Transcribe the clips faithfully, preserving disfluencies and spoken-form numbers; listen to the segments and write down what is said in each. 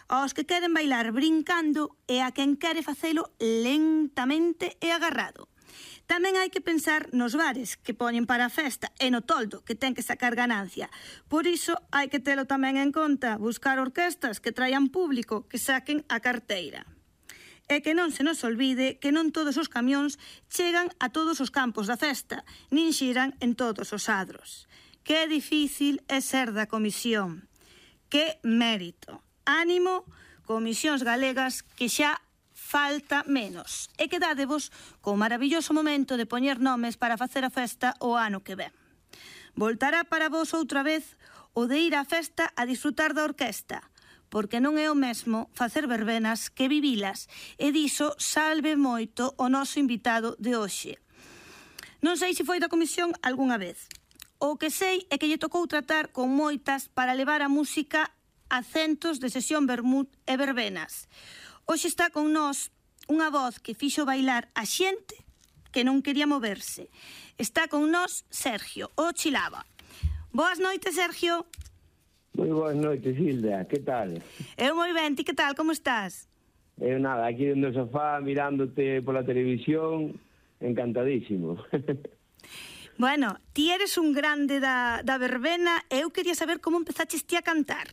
aos que queren bailar brincando e a quen quere facelo lentamente e agarrado. Tamén hai que pensar nos bares que poñen para a festa e no toldo que ten que sacar ganancia. Por iso hai que telo tamén en conta, buscar orquestas que traian público, que saquen a carteira. E que non se nos olvide que non todos os camións chegan a todos os campos da festa, nin xiran en todos os adros. Que difícil é ser da comisión. Que mérito. Ánimo, comisións galegas, que xa falta menos. E quedádevos co maravilloso momento de poñer nomes para facer a festa o ano que ven. Voltará para vos outra vez o de ir á festa a disfrutar da orquesta, porque non é o mesmo facer verbenas que vivilas, e diso salve moito o noso invitado de hoxe. Non sei se foi da comisión algunha vez. O que sei é que lle tocou tratar con moitas para levar a música a centos de sesión vermut e verbenas. Hoxe está con nós unha voz que fixo bailar a xente que non quería moverse. Está con nós Sergio, o Chilaba. Boas noites, Sergio. Moi boas noites, Hilda, que tal? Eu moi ben, ti que tal, como estás? Eu nada, aquí no sofá, mirándote pola televisión, encantadísimo. Bueno, ti eres un grande da, da verbena e eu quería saber como empezaches ti a cantar.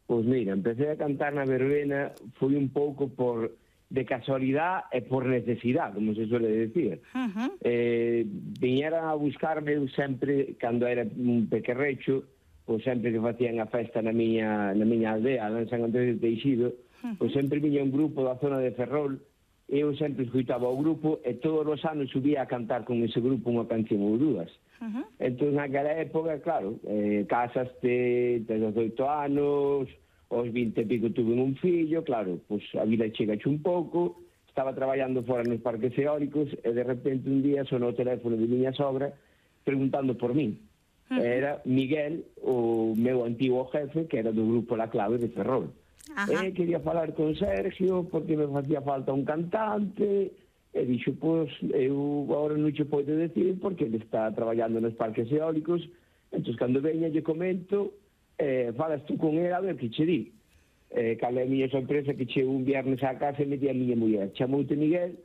Pois mira, empecé a cantar na verbena, foi un pouco por de casualidade e por necesidade, como se suele decir. Uh-huh. Eh, viñeran a buscarme sempre, cando era un pequerrecho, pois sempre que facían a festa na miña, na miña aldea, en San Andrés de Teixido, uh-huh. pois sempre viña un grupo da zona de Ferrol. Eu sempre escuitaba o grupo e todos os anos subía a cantar con ese grupo unha canción ou dúas. Uh-huh. Entón, naquela época, claro, eh, casaste, tes dezoito anos, aos vinte e pico tuve un fillo, claro, pois a vida chegache un pouco, estaba traballando fora nos parques eólicos e de repente un día sonou o teléfono de miña sogra preguntando por min. Uh-huh. Era Miguel, o meu antigo jefe, que era do grupo La Clave de Ferrol. E quería falar con Sergio porque me facía falta un cantante e dixo, pois, eu agora non che podo decir porque ele está traballando nos parques eólicos, entón, cando veña lle comento, eh, falas tú con ele a ver que che di. Eh, cal é a miña sorpresa que che un viernes á casa e me di a miña muller, chamoute Miguel,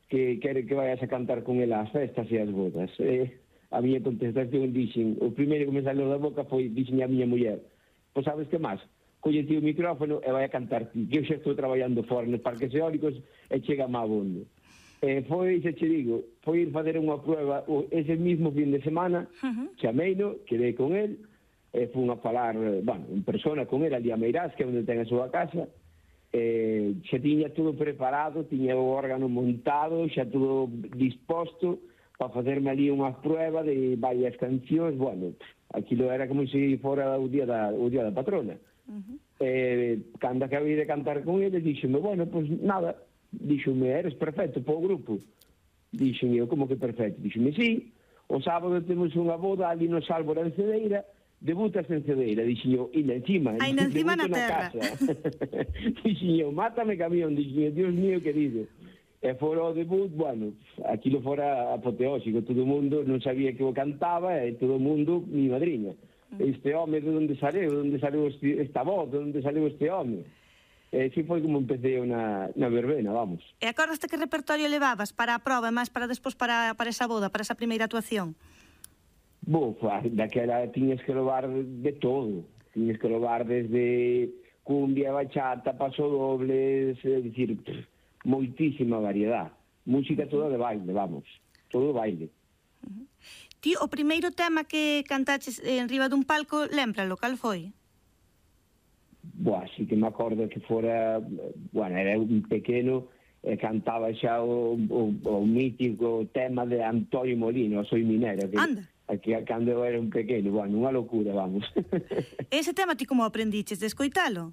que quere que vayas a cantar con ele ás festas e ás bodas. Eh, a miña contestación dixen, o primeiro que me salió da boca foi, dixen a miña muller, pois sabes que máis? Collete o micrófono e vai a cantar ti, que eu xa estou traballando fora nos parques eólicos e chega má bondo. E foi, xa che digo, foi ir fazer unha prueba ese mismo fin de semana, uh-huh. chameino, quedei con el, e fun a falar, bueno, en persona con el ali a Meirás, que é onde ten a súa casa, e xa tiña todo preparado, tiña o órgano montado, xa todo disposto para facerme ali unha prueba de varias cancións, bueno, aquilo era como se fora o día da, o día da patrona. Uh-huh. Eh, cando acabei de cantar con ele díxome, bueno, pois pues, nada, díxome, eres perfecto para o grupo. Díxome eu, como que perfecto? Díxome, sí, o sábado temos unha boda ali no Sálvora en Cedeira, debutas en Cedeira. Díxome eu, e encima, ainda encima na terra. Díxome eu, mátame camión, díxome, Dios mío querido. E fora o debut, bueno, aquilo fora apoteóxico, todo o mundo non sabía que o cantaba e todo o mundo, mi madriña. Este home, de onde saleu, de onde saleu este, esta voz, de onde saleu este home. E así foi como empecé na, na verbena, vamos. E acordaste que repertorio levabas para a prova e máis para despois para, para esa boda, para esa primeira actuación? Bo, daquela tiñas que levar de todo. Tiñas que levar desde cumbia, bachata, pasodobles, é dicir, moitísima variedade. Música toda de baile, vamos. Todo baile. Uh-huh. Ti, o primeiro tema que cantaches en riba dun palco, lembralo, cal foi? Boa, sí que me acordo que fora, bueno, era un pequeno, e cantaba xa o, o, o mítico tema de Antonio Molino, Soy Minero, que, Anda. que cando eu era un pequeno, bueno, unha locura, vamos. Ese tema ti como aprendiches de escoitalo?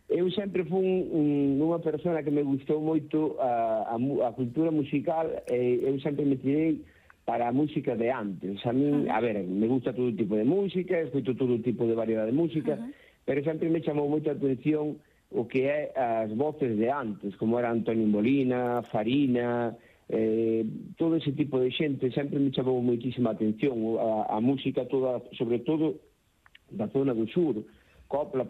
Eu sempre fui un, unha persona que me gustou moito a, a, a cultura musical, e eu sempre me tirei para a música de antes. A mí, uh-huh. a ver, me gusta todo tipo de música, escoito todo tipo de variedade de música, uh-huh. pero sempre me chamou moita atención o que é as voces de antes, como era Antonio Molina, Farina, eh, todo ese tipo de xente, sempre me chamou moitísima atención a, a música toda, sobre todo da zona do sur, copla,